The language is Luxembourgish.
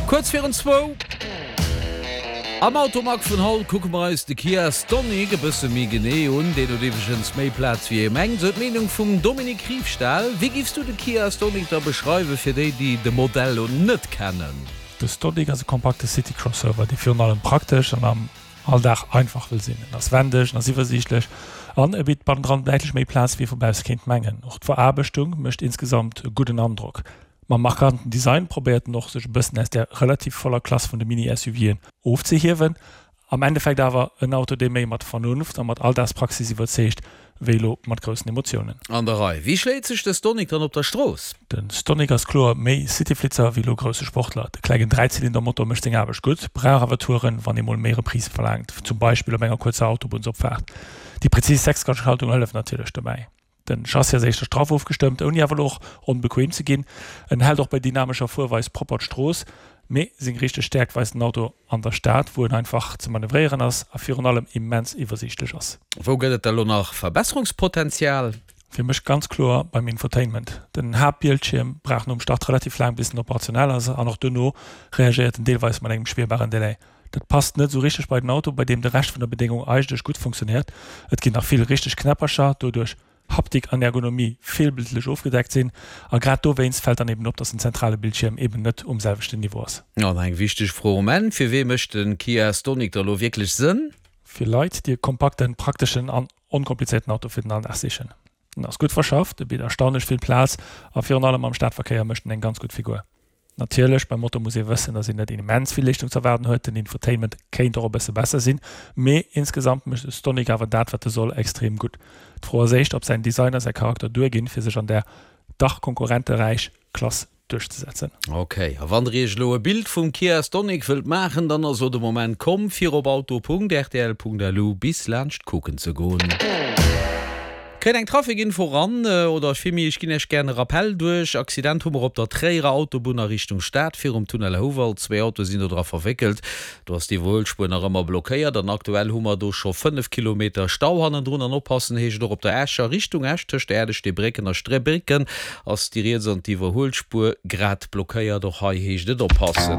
Kuerz virun zwou. Am Automag vun haut kucke mer eis de Kia Stonic e bësse méi genee un. Deen huet iwwregens méi Plaz wéi ee mengt, sou d'Meenung vum Dominique Riefstahl. Wéi giffs du de Kia Stonic da beschreiwen, fir déi, déi de Modell lo net kennen? De Stonic ass e kompakte City-Crossover, dee virun allem praktesch an am Alldag einfach wëll sinn. En ass wendeg, en ass iwwersiichtlech an e bitt bannendran däitlech méi Plaz, wéi ee vu bausse kéint mengen. Och d'Veraarbechtung mécht insgesamt e gudden Androck. Mam markanten Design probéiert en och, sech e bëssen aus där relativ voller Klass vun de Mini-SUVen ofzehiewen. Am Endeffekt awer en Auto, dee méi mat Vernunft a mat Alldagspraxis iwwerzeegt, wéi elo mat groussen Emotiounen. An der Rei. Wéi schléit sech de Stonic dann op der Strooss? De Stonic ass kloer méi Cityflitzer wéi elo grousse Sportler. De klengen Dräizylindermotor mécht seng Aarbecht gutt, brauch awer Touren, wann ee mol méi Reprise verlaangt, zum Beispill op enger kuerzer Autobunnsopfaart. Déi prezis Sechsgangschaltung hëlleft natierlech dobäi. Den Chassis ass éischter straff ofgestëmmt, ouni awer elo och onbequem ze ginn. En hält och bei dynamescher Fuerweis propper d'Strooss, mee seng richteg Stäerkt weist den Auto an der Stad, wou en einfach ze manövréieren ass a virun allem immens iwwersiichtlech ass. Wou gëtt et da lo nach Verbesserungspotenzial? Fir mech ganz kloer beim Infotainment. Den Haaptbildschierm brauch nom Start relativ laang bis en operationell ass an och duerno reagéiert en deelweis mat engem spierbaren Delai. Dat passt net esou richteg bei den Auto, bei deem de Rescht vun der Bedéngung eigentlech gutt funktionéiert. Et ginn nach vill richteg Knäppercher, doduerch Haptik an Ergonomie feelbildlech ofgedeckt sinn. A grad dowéinst fält dann eben op, dass den zentrale Bildschierm eben net um selwechten Niveau ass. An eng wichteg Fro um Enn, Fir wee mécht den Kia Stonic da lo wierklech Sënn? Fir Leit, déi e kompakten, prakteschen an onkomplizéierten Auto fir den Alldag sichen. En ass gutt verschafft, e bitt erstaunlech vill Plaz a virun allem am Stadverkéier mécht en eng ganz gutt Figur. Natierlech, beim Motor muss ee wëssen, dass een net immens vill Leeschtung ze erwaarden huet. Den Infotainment kéint och e bësse besser sinn, mee insgesamt mécht de Stonic awer dat, wat e soll, extrem gutt. D'Fro ass éischter, ob säin Design a säi Charakter duerginn, fir sech an där dach konkurrenteräich Klass duerchzesetzen. Ok, a wann der iech elo e Bild vum Kia Stonic wëllt maachen, dann ass elo de Moment komm, fir op auto.rtl.lu bis laanscht kucken ze goen. Kréit eng Trafikinfo ran, oder villméi ech ginn Iech gären e Rappel duerch. Accident hu mer op der Tréierer Autobunn a Richtung Stad virum Tunnel Houwald. Zwéi Autoe sinn do dra verwéckelt. Do ass d'Iwwerhuelspuer nach ëmmer blockéiert an aktuell hu mer do scho 5 Kilometer Stau hannendrun. An oppassen heescht et och op der Escher Richtung Esch, tëscht Äerdeg-Steebrécken a Strebrécken ass déi riets an d'Iwwerhuelspuer grad blockéiert. Och hei heescht et oppassen.